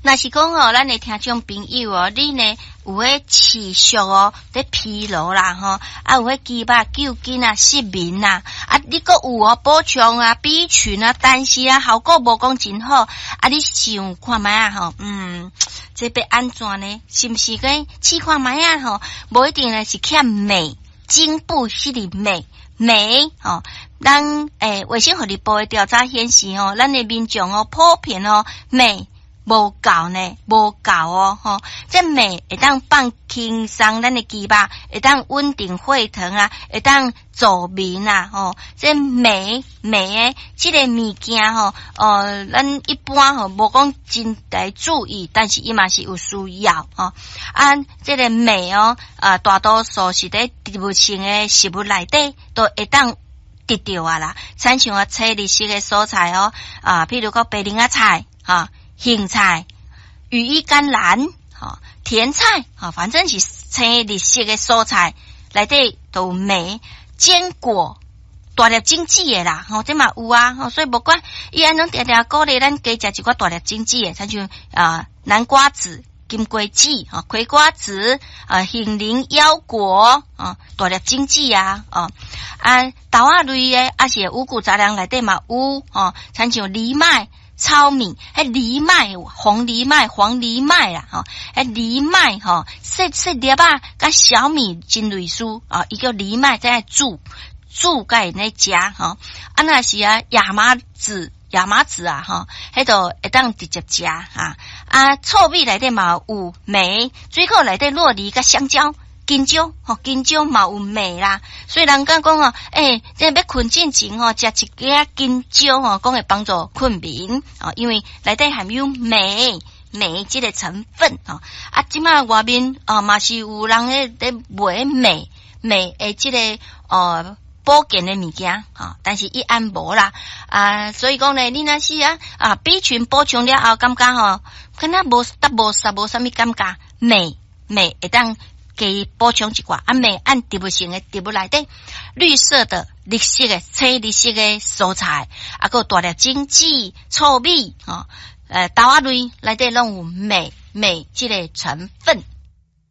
若是講哦，咱的聽眾朋友哦，你呢有彼持續哦，佇疲勞啦吼，啊有彼肌肉揪筋啊、失眠啊，啊你閣有哦補充啊、B 群啊，但是啊效果無講真好，啊你想看覓啊吼？這欲按怎呢？是毋是講試看覓啊吼？無一定呢是欠鎂，進補彼個鎂鎂吼。咱衛生福利部的調查顯示吼，咱的民眾哦普遍哦鎂無夠呢，無夠哦吼。這鎂會當放輕鬆咱的肌肉，會當穩定血糖啊，會當助眠啊吼。這鎂鎂的這个物件吼，咱一般吼無講真來注意，但是伊嘛是有需要吼。啊，這个鎂哦，啊，大多數是佇植物性的食物內底都會當得著啊啦。親像啊，青綠色的蔬菜哦，啊，譬如講白龍仔菜，哈。莧菜、羽衣甘藍、吼甜菜，吼反正是青綠色的蔬菜內底都有鎂，堅果、大粒種子的啦，吼這嘛有啊，吼所以無管伊按呢定定鼓勵咱加食一寡大粒種子的，親像啊南瓜子、金瓜子、吼葵瓜子、啊杏仁腰果、啊大粒種子啊，哦啊豆仔類的，抑是五穀雜糧內底嘛有，吼親像藜麥、糙米，彼藜麥、紅藜麥、黃藜麥啦，吼，彼藜麥吼，細細粒仔，佮小米真類似啊，伊叫藜麥，再煮煮共咧食吼。啊，若是啊，亞麻籽、亞麻籽啊，吼，彼都會當直接食哈。啊，糙米內底嘛有鎂，水果內底酪梨佮香蕉。香蕉吼，香蕉嘛有鎂啦，所以人講講哦，這欲睏進前吼，食一個香蕉吼，講會幫助睏眠哦，因為內底含有鎂鎂這个成分吼。啊，這馬外面啊嘛是有人咧賣鎂鎂的這个保健的物件吼，但是伊按無啦啊，所以講呢，你若是啊啊 B 群補充了後，感覺吼，敢若無得無啥無啥物感覺，鎂鎂會當加補充一寡，啊，鎂按植物性的植物內底，綠色的、綠色的、青綠色的蔬菜，啊，閣有大粒種子、糙米，吼，豆仔類內底攏有鎂鎂這个成分。